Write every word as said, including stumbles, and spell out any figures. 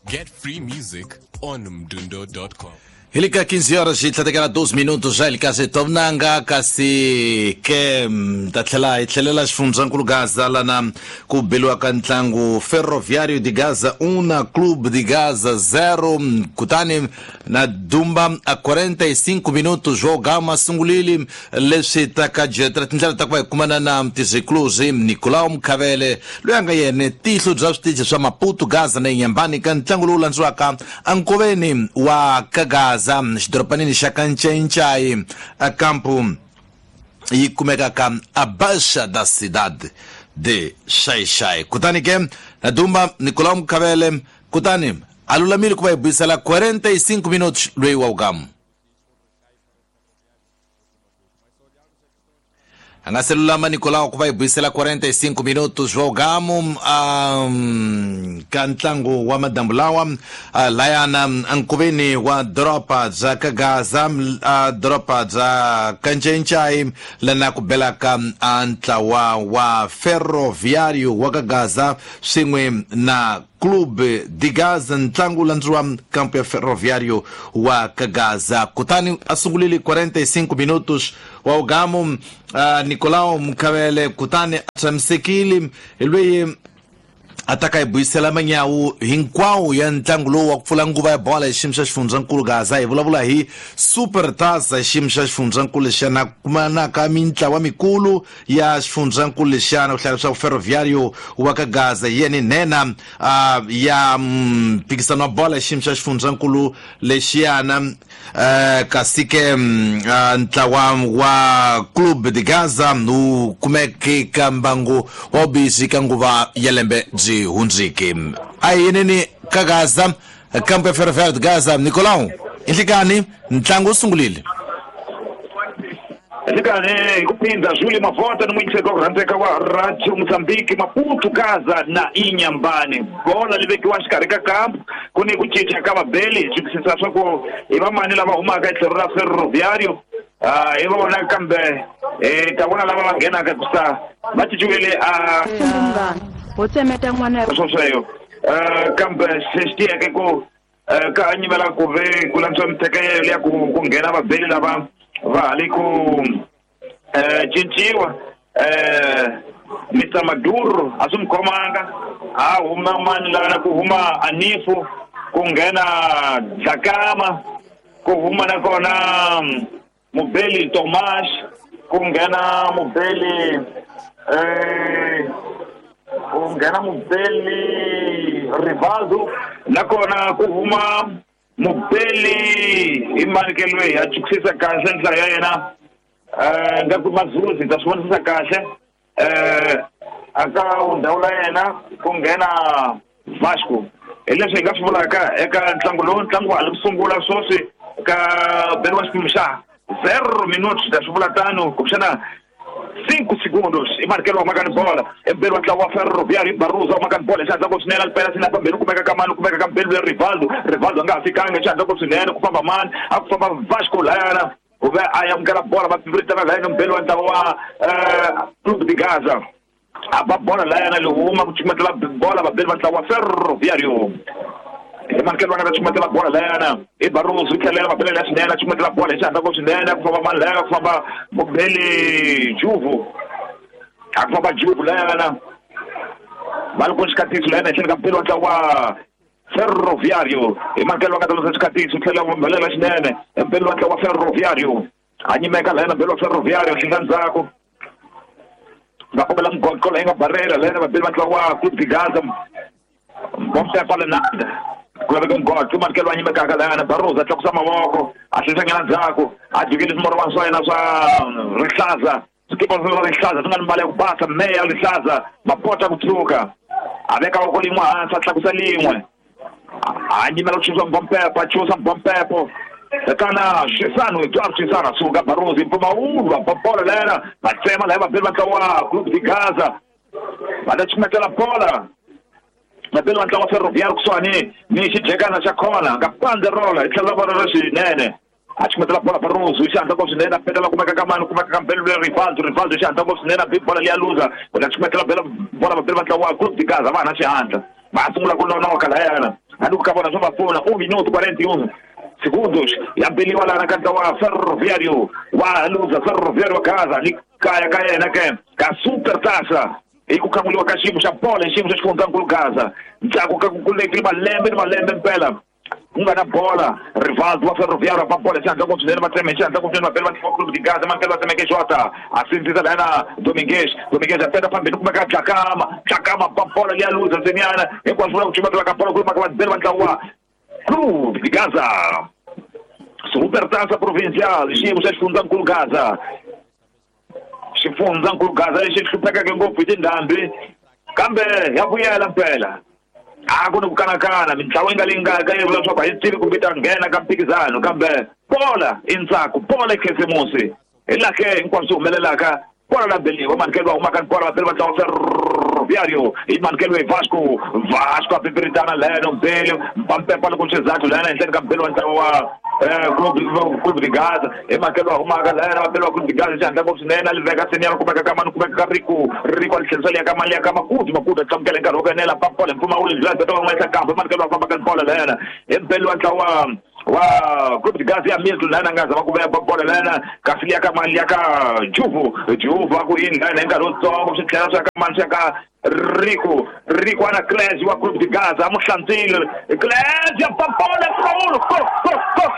Get free music on mdundo dot com. Ilika quinze horas e trinta e dois minutos já ilika tomnanga kasi ke tatlhela hi tlhelela xifundzankulu Gaza lana ku beliwa ka ntlangu Ferroviário de Gaza um na Clube de Gaza zero kutani na Dumba a quarenta e cinco minutos jogo masungulili leswi taka jetra tindlela ta ku va hi kumana na Mtizikluzi Nicolau Mkhavele loyi a nga yena tihlo bya switichi swa Maputo Gaza na Inhambane ka ntlangu lowu landziwaka ankoveni wa Kagaza xidoropanini xa Kanchenchai a campo yi kumeka ka Abaixa da cidade de Xai-Xai. Kutani ke na Dumba Nicolau Mkhavele kutani a lulamile ku va hi buyisela quarenta e cinco minutos loyi wa ugamu. A nga se lulama Nicolau ku va hi buyisela quarenta e cinco minutos wa ugamu um, ka ntlangu wa madambu lawa uh, layana ankoveni wa doroba bya ka Gaza uh, doroba bya Kanchenchai lana ku belaka ntlawa wa Ferroviário wa ka Gaza swin'we na Clube de Gaza ntlangu landziwa kampo ya Ferroviário wa ka Gaza. Kutani a sungulile quarenta e cinco minutos wa ugamu uh, Nicolau Mkhavele kutani a tshamisekile loyi a ta ka hi buyisela manyawu hinkwawo ya ntlangu lowu wa ku pfula nguva ya bola hi xiyimo xa xifundzankulu Gaza. Hi vulavula hi Super Taça hi xiyimo xa xifundzankulu lexiyana kumanaka mintlawa mikulu ya xifundzankulu lexiyana ku hlaya leswaku Ferroviário wa ka Gaza hi yena nhenha uh, ya mphikisano wa bola hi xiyimo xa xifundzankulu lexiyana uh, kasi ke uh, ntlawa wa Clube de Gaza wu kumeke ka mbangu wa vubizi ka nguva ya lembe byi hundziki. A hi yeneni ka Gaza kampo ya Ferroviário de Gaza. Nicolau, inhlikani ntlangu wu sungulile. Nhlikani hi ku phindha Júlio Mavota ni muyingiseri wa ku rhandzeka wa Radio Mozambique Maputo Gaza na Inhambane. Bola li vekiwa xikarhi ka kampo ku ni ku cinca ka vabeli hi twisisa swa ku i vamani lava humaka hi tlhelo ra Ferroviário ah hi vona kambe hi ta vona lava va nghenaka kusa va cinciwile a swosweyo kambe xi tiyeke ku ka nyimela ku ve ku lantswa mithekelo ya ku ku nghena vabeli lava va hali ku cinciwa. Mister Maduro a swi mi khomanga a huma mani lana ku huma Anifu ku nghena Dlakama ku huma nakona mubeli Tomas ku nghena mubeli eh ku nghena mubeli Rivaldo nakona ku huma mubeli i mani loyi a chukisisa kahle ndlela ya yena eh nga ku Mazuzi ta swi vonisisa kahle eh aka ndhawu la yena ku nghena Vasco. Hi leswi hi nga swi vulaka eka ntlangu lowu ntlangu wa ha li ku sungula sweswi ka belo wa xiphemu xa zero minutos ta swi vula tano kumbexana cinco segundos i markelo wa maka ni bola embeli wa ntlawa wa Ferroviário Barroso wa maka ni bola xandla ku swinene alipela sina pambeni ku kumeka ka mani ku kumeka ka mbeli ya Rivaldo Rivaldo a nga ha fikanga xandla ku swinene ku famba mani a ku famba Vasco layana ku ve a amukela bola va piviritana layana mbeli wa ntlawa wa Clube de Gaza a ba bola layana li huma ku chumatela bola vabeli va ntlawa wa Ferroviário hi markelo va nga ta chumatela bola layana i Barroso yi tlhelela mabelela ya swinene a chumatela bola hi xihatla ku swinene ku famba mani layana ku famba mubeli Juvu a ku famba Juvu layana va ri ku xikatiso layana etlhelo ka mbeli wa ntlawa wa Ferroviário hi markelo va nga ta losa xikatiso tlhela mabelela xinene mbeli wa ntlawa wa Ferroviário a nyimeka layana mbeli wa Ferroviário xi nga ndzhaku va kombela mugoqo leyi nga barela layana vabeli va ntlawa wa Clube de Gaza bompepa lenanda ku laveka mugoqo markelo wa nyimekaka layana Barroso a tlakusa mavoko a hlensanyana ndzhaku a jikile swimorwana swa yena swa rihlaza swikipa swa rihlaza swi nga ni mbala ya ku basa meya rihlaza mapota ku tshuka a veka voko lin'we hansi a tlakusa lin'we a nyimela ku chusa mbompepo a chusa mbompepo Kana Shisano Eduardo Shisano suka Barroso mpfumawulo va bola layana va tsema laya vabeli va ntlawa wa Clube de Gaza va ta chumetela bola vabeli va ntlawa wa Ferroviário kusuhani ni xijekana xa khona nga panderola hi tlhelo ra vona ra xinene A chumetela bola Barroso, xandla ngopfu swinene, a petela kumeka ka mani, kumeka ka Mbelu Rivaldo, Rivaldo xandla ngopfu swinene, a bi bola liya luza, u ta chumetela bela bola vabeli va ntlawa wa Clube de Gaza, va na xihandla. Va sungula ku nonoka layana. A ni ku ka vona swo va pfuna, un minuto quarenta e um segundos, ya beliwa lana ka ntlawa wa Ferroviário wa Luza, Ferroviário wa Gaza, ni kaya ka yena ke ka Super Taça. I ku khanguliwa ka xiyimo xa bola, xiyimo xa xifundzankulu Gaza. Ndzhaku ka ku kulekile malembe ni malembe mpela ku nga na bola, Rivaldo wa Ferroviário va bola xandla ngopfu swinene, va tseme xandla ngopfu swinene, vabeli va ntlawa Clube de Gaza, mankele va tsemeke Jota, a sindzisa lana Domingues, Domingues a peta phambili kumeka Dlakama, Dlakama va bola liya luza ntseniana, hinkwaswo vula ku chumetela ka bola kumeka vabeli va ntlawa Clube de Gaza. Super Taça Provincial, xiyimo xa xifundzankulu Gaza. Xifundzankulu Gaza lexi hluphekeke ngopfu hi tindhambi, kambe ya vuyela mpela. A ku ni ku kanakana, mintlawa yi nga leyi nga ka yi vula leswaku a yi tivi kumbe yi ta nghena ka mphikizano, kambe bola i ntsako, bola i khisimusi. Hi laha ke hinkwaswo swi humelelaka, bola la beliwa, manikelo va humaka ni bola vabeli va ntlawa Ferroviário, i manikelo hi Vasco, Vasco a pipiritana leno Mbelu, mpampepa loko xizathu lena henhleni ka Mbelu wa ntlawa wa Clube de Gaza, i manikelo va humaka lena vabeli va Clube de Gaza xandla ngopfu swinene, a li veka senior kumeka ka mani, kumeka ka Rico, Rico a li tlherisa liya ka mali ya ka Makudu, Makudu a tlamukela hi nkarhi wo enela, papola mpfumawulo ndlela beta va n'wesa kambe manikelo va famba ka bola lena, i Mbelu wa ntlawa wa Clube de Gaza ya Milton lena nga zama ku veya bola lena, kasi liya ka mali ya ka Juvu, Juvu a ku yini lena hi nkarhi wutsongo swi tlhela swi ya ka mani swi ya ka Rico, Rico ana Clésio wa Clube de Gaza, a mu hlantswile Clésio ya papola mpfumawulo, go go go.